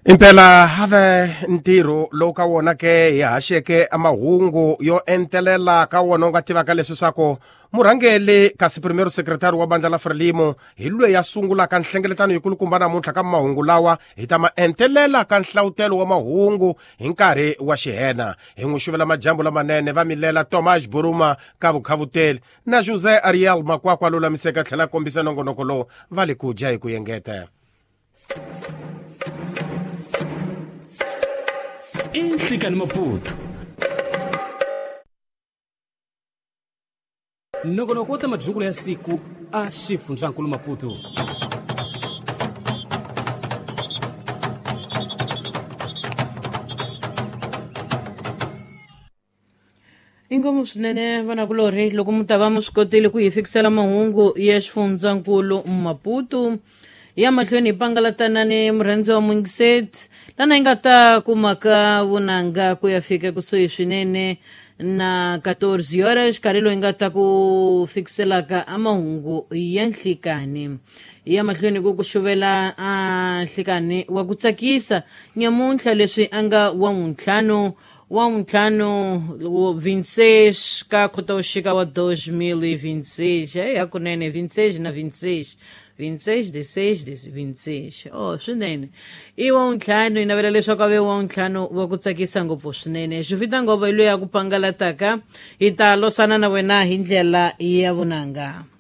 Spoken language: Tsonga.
Impela have ntirho lowu ka wona ke hi haxeke mahungu yo entelela ka wona u nga tivaka leswi swa ku murhangeli kasi primero secretary wa bandla la Frelimo hi lweyi a sungulaka nhlengeletano yikulukumba namuntlha ka mahungu lawa hi ta ma entelela ka nhlawutelo wa mahungu hi nkarhi wa xihena. Hi n'wi xuvela majambu lamanene va milela Tomas Buruma ka vukhavuteli na José Ariel Makwakwa lulamiseka tlhela kombisa nongonoko lowu va le ku dya hi ku yengeta. Inhlikani Maputo nongonoko wa ta madyungulo ya siku a xifundzankulu Maputo. Inkomu swinene vanakulorhi loko mi ta va mi swi kotile ku hi fikisela mahungu ya xifundzankulu Maputo ya mahlweni hi pangalatana ni murhandzi wa Mungiset lana hi nga ta kumaka vunanga ku ya fika kusuhi swinene na 14 horas xikarhi loyi nga ta ku fikiselaka a mahungu ya nhlikani ya mahlweni ku ku xuvela a nhlikani wa ku tsakisa nyamuntlha leswi a nga wa ntlhanu wa ntlhanu 26 ka Khotavuxika wa 2026. Hey, hakunene 26 na 26 26 16 26 oh swinene i wa ntlhanu hi navela leswaku a ve wa ntlhanu wa ku tsakisa ngopfu swinene xifita ngopfu hi loyi a ku pangalataka hi ta losana na wena hi ndlela ya vunanga.